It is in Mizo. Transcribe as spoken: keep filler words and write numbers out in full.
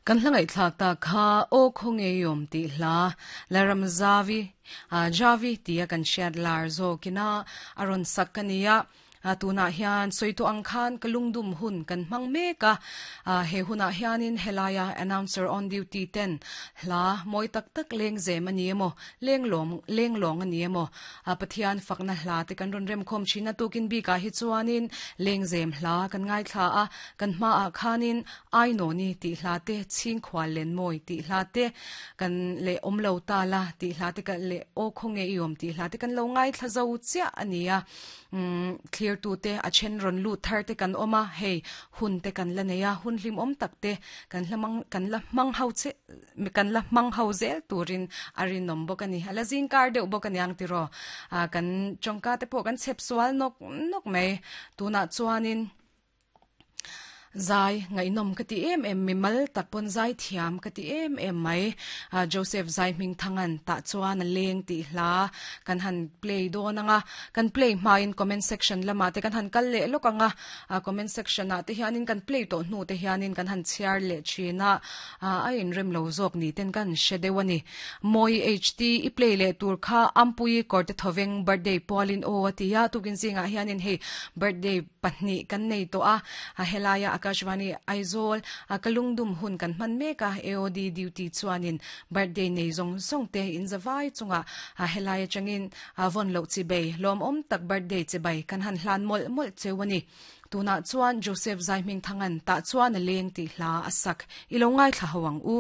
Kan hla ngaihthlak ta kha aw khawnge yom ti hla laram zavi a javi tia kan hriat lar zawkina aron sak kania a tuna hian soito ang khan kalungdum hun kan hmang meka a he huna hianin helaya announcer on duty ten hla moi tak tak leng zem ani emo leng lom leng long ani emo a pathian fakna hla te kan ron rem khom china tukin bi ka hi chuanin leng zem hla kan ngai thla a kan hma a khanin ai no ni ti hla te ching khwal len moi ti hla te kan le omlo ta la ti hla te ka le o khonge iom ti hla te kan lo ngai thla zo chia ania um clear tu te a chen ron lu thar te kan oma hei hun te kan la neya hun hlim om tak te kan hlamang kan la mang hau che mi kan la mang hau zel turin arin nom bokani ala zing kar deuh bokani ang tiro a kan chongka te po kan chep sual nok nok mai tuna chuanin zai ngai nom ka ti em em mi mal tak pon zai thiam ka ti em em mai a Joseph zai ming thangan ta chuan a leng ti hla kan han play do nanga kan play ma in comment section lama te kan han kal le lokanga a comment section a te hianin kan play to hnu te hianin kan han chiar le china a a in rem lo zok ni ten kan shedewani moi ht i play le tur kha ampui korte thoveng birthday polin o atia tukin zinga hianin hei birthday pahni kan nei to a a helaya Akashvani Aizawl a kalungdum hun kan man meka A O D duty chuanin birthday nei zong zong te in zawai chunga a helaya changin a von lo chi bei lom om tak birthday chi bai kan han hlan mol mol chewani tuna chuan Joseph Zaiming thangan ta chuan a leng ti hla asak ilo ngai thla hawang u.